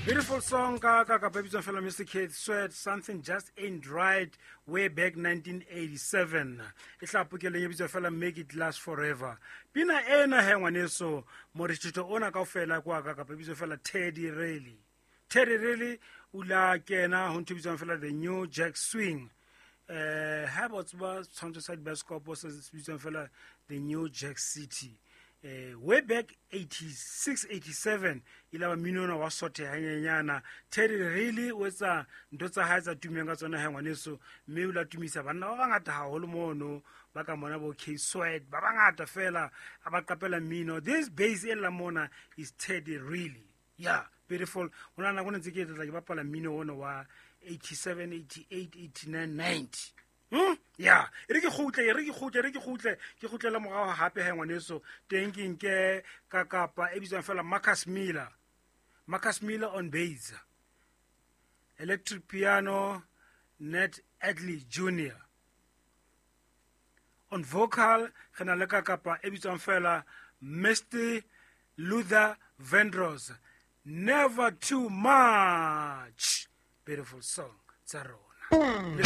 Beautiful song ka ka bitswang fela Mr Keith Sweat, "Something Just Ain't Right", way back 1987. E tla pokeleng e bitswa fela "Make It Last Forever". Pina ena he, ngwaneso, morithito ona kaofela kwa ka kapa bitswa fela Teddy Riley. Teddy Riley o la kena ho ntho e bitswang fela the New Jack Swing. Ha ba tseba tshwantsho sa dibaskopo se se bitswang fela the New Jack City, way back 86, 87, ile ba mmino ona wa sothe hanyenyana. Teddy Riley o etsa ntho tsa hae tsa tumeng ka tsona he, ngwaneso, mme o la tumisa banna ba bangata haholo mono ba ka mona bo K Sweat, ba bangata fela a ba qapela mmino. This bass e lla mona is Teddy Riley. Yeah, beautiful. Ho na nako ne ntse ke tla ke bapala mmino ona wa 87, 88, 89, 90. Ya, e re ke kgutle, e re ke kgutle, e re ke kgutle, ke kgutlela morao hape he, ngwaneso. Teng ke nke ka kapa e bitswang fela Marcus Miller. Marcus Miller on bass, electric piano Nat Adley Jr on vocal. Re na le ka kapa e bitswang fela Mr Luther Vandross, "Never Too Much". Beautiful song tsa rona.